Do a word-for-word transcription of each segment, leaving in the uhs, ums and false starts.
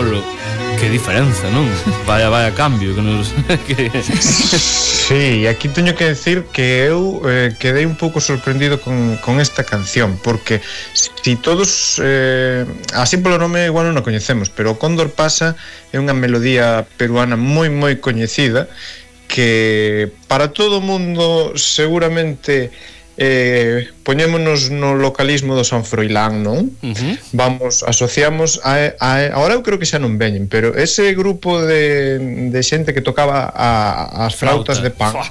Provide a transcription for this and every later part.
Manolo, que diferenza, non? Vaya, vaya cambio que nos... que... Sí, aquí teño que decir que eu eh, quedei un pouco sorprendido con, con esta canción, porque si todos eh, así polo nome igual non a coñecemos, pero o Cóndor Pasa é unha melodía peruana moi moi coñecida que para todo o mundo seguramente eh, poñémonos no localismo do San Froilán, non? Uh-huh. Vamos, asociamos a, a, agora eu creo que xa non veñen, pero ese grupo de, de xente que tocaba a, as flautas Flauta. de pan. Fua.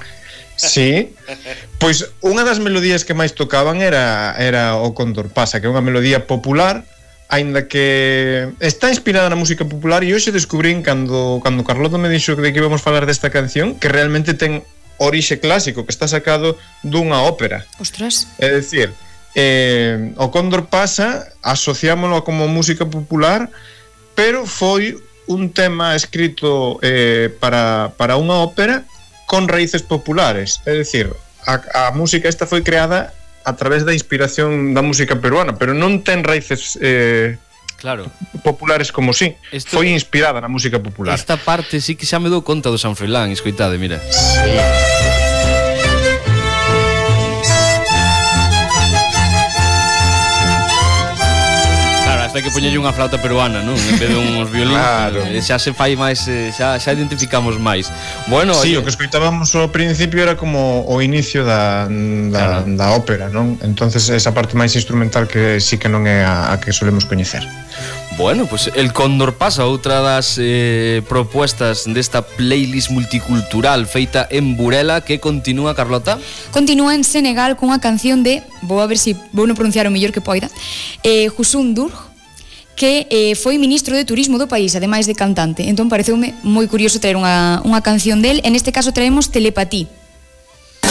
Sí, pois unha das melodías que máis tocaban era, era o Cóndor Pasa, que é unha melodía popular, aínda que está inspirada na música popular, e hoxe descubrín cando, cando Carlota me dixo de que íbamos falar desta canción que realmente ten orixe clásico, que está sacado dunha ópera. Ostras. É dicir, eh, o Cóndor Pasa asociámoslo como música popular, pero foi un tema escrito eh, para, para unha ópera con raíces populares. É dicir, a, a música esta foi creada a través da inspiración da música peruana, pero non ten raíces eh, claro. populares como si. Esto, foi inspirada na música popular. Esta parte sí que xa me dou conta do San Froilán, escoitade, mira. Sí. Hai que poñerlle unha flauta peruana, non? En vez de uns violín, claro. Xa se fai máis, xa, xa identificamos máis. Bueno, sí, oye, o que escoitábamos ao principio era como o inicio da, da, claro. da ópera, non? Entonces esa parte máis instrumental que sí que non é a, a que solemos coñecer. Bueno, pues el Cóndor Pasa, outra das eh, propuestas desta playlist multicultural feita en Burela, que continúa, Carlota? Continúa en Senegal cunha canción de, vou a ver se si vou non pronunciar o mellor que poida, eh, Youssou N'Dour, que eh, foi ministro de turismo do país, ademais de cantante. Entón pareceume moi curioso traer unha, unha canción del. En este caso traemos Telepatí.